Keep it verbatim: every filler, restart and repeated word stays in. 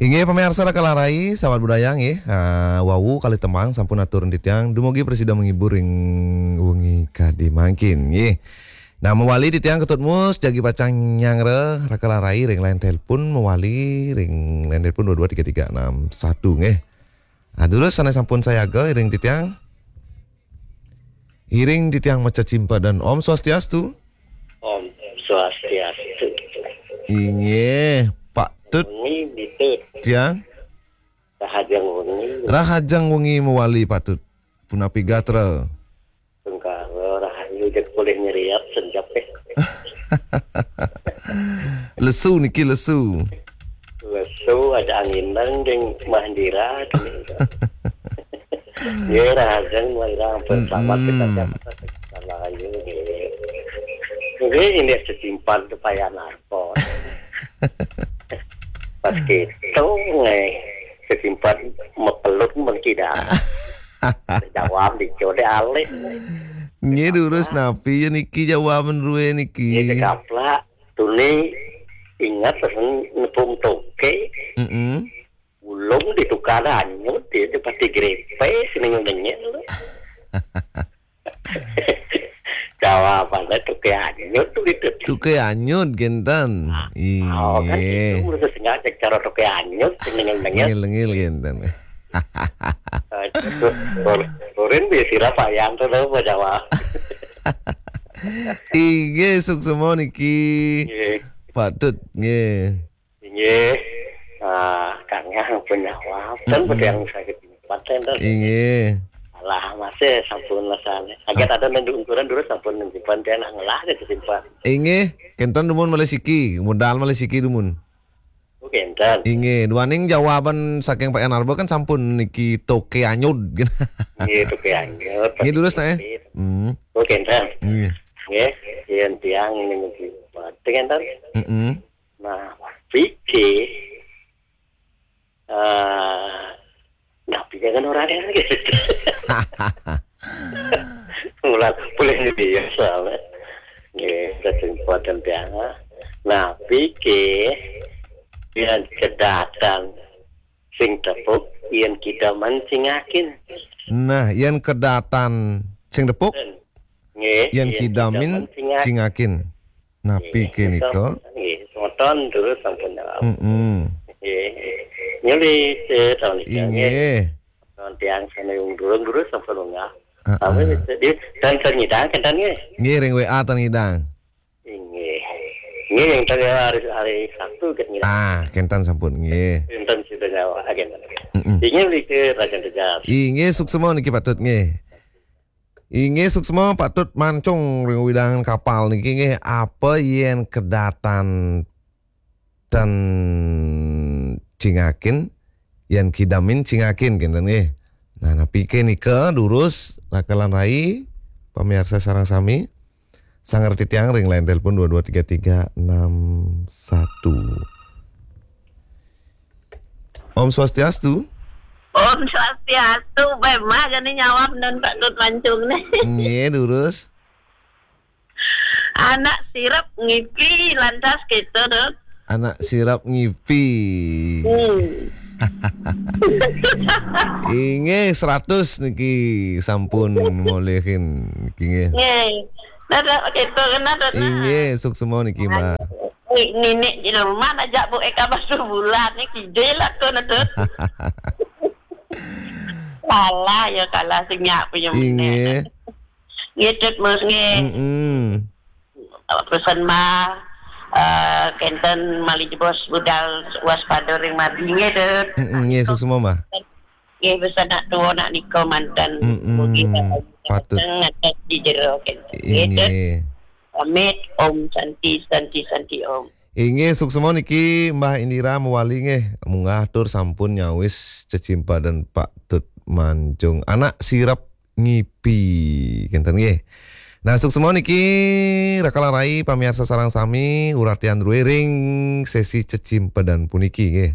Inggih pamiarsa Raka Larai, sahabat budaya nggih. Ah, wau kalih tembang sampun atur titiang dumugi prasida menghibur ring wengi kadi mangkin nggih. Nah, mawali titiang Ketut Mus jagi pacang nyanggra Raka Larai ring line telepon, mawali ring line telepon dua dua tiga tiga enam satu nggih. Ah, durus sané sampun sayaga iring titiang. Iring titiang maca cimpedan. Om Swastiastu. Om Swastiastu. Inggih, Pak Tut. Wengi Bitut. Tiang. Rahajeng wengi. Rahajeng wengi mawali, Pak Tut. Punapi gatra? Tungkara rahayu, jeg polih nyeriap senjap, eh. Lesu niki, lesu. Lesu, ada angin nang ding mahandira. Ya, rahajeng, wayang bersama kita, mm-mm, siapa saja kita layu, ya. Ini, ini sesimpan tu payah narko. Pas gitu, eh, sesimpan mepelut mengkidang. Jawab di code alih. Nggih, durus napi ya niki jawaban rue niki? Nggih, kekaplak. Tuni ingat pesen nepung toke. Mm-mm. Ulung ditukar anyut, dia tu pasti grepe, sini ngenyel. Jawabannya toke anyut tu gitu. Toke anyut, kenten. Ah, oh, kan inggih. Itu menurut saya sengaja cara toke anyut, sini ngenyel. Ngil-ngil, kenten. Turin di sira Pak Yanto tahu apa jawab. Inggih, suksema niki. Nggih. Pak Tut, nggih. Inggih. Ah, kang yang punya wab. Kan, mm-mm, pada yang sakit tempat, kan? Inggih. Alah, masih sampun rasanya. Agak ada nenduk ukuran dulu sampun nenduk pantai nak ngelah ke simpan. Inggih, kenten dumun malih siki, modal malih siki dumun. Oh, kenten. Inggih, duaning jawaban saking Pak Yanarba kan sampun niki toke anyud. Nggih, toke anyud. Nggih, durus, nah, eh? Hmm. Oh, kenten. Nggih. Nggih, yen tiang ini niki. Kenten. Mm-mm. Nah, pikir, eh, nah, pikir kan orang yang gitu. Mulai boleh jadi ya soalnya. Nggih, kesempatan tiang. Nah, pikir yang kedatan sing tepuk, yang kita mencingakin. Nah, yang kedatan sing tepuk, nggih, yang kidamin cingakin. Napi nika? Nggih, semeton terus sampun jawab. Mm-mm. Nggih. Nyulik, eh, tahun iki, nggih. Nggih. Tahun tiang sane wong durung terus sampun lunga. Heeh. Tapi di, dan ternyata kenten nggih. Nggih, ring W A tan ngidang. Inggih. Nggih, yang tadi hari, hari Sabtu kan nggih. Ah, kenten sampun nggih. Kenten sudah nyawa, ah, kenten. Mm-mm. Inggih, mriki Raden Tejas. Inggih, suksema niki Pak Tut nggih. Inggih, suksema Pak Tut Mancung ring wewidangan Kapal niki nggih, apa yen kedatan ten cingakin, yen kidamin cingakin kenten nggih. Nah, napi ke nika durus Raka lan Rai, pamiarsa sareng sami. Sanggra titiang ring line telepon dua dua tiga tiga enam satu. Om Swastiastu. Om Swastiastu, bae mah jani nyawab nun Pak Tut Mancung nih. Nggih, durus. Anak sirep ngipi lantas gitu, Tut. Anak sirep ngipi. Hmm. Inggih, seratus niki sampun molihin niki nggih. Nggih. Nah, dah, gitu, kena, Tut, nah. Inggih, suksema niki, Mbak. Ni-, ninik di rumah aja Bu Eka Basu Bulan ni kidil aku, Tut. Kalah ya, kalah sing nyak punya. Inggih. Nggih, Tut Mus nggih. Mm-mm. Pesan mah, eh, kenten malih jebos budal waspada ring margi nggih, Tut. Mm-mm, nggih, suksema, Mbah. Nggih, pesan nak tua nak nika manten. Mm-mm, mugi patut. Ngatas di jero kenten. Nggih, Tut. Inggih. Pamit, Om Santi, Santi, Santi, Om. Inggih, suksema niki Mbah Indira mawali nggih. Munggah tur sampun nyawis cecimpedan Pak Tut Mancung. Anak sirep ngipi. Kenten nggih. Nah, suksema niki Raka lan Rai pamiarsa sareng sami uratian druéning sesi cecimpedan puniki nggih.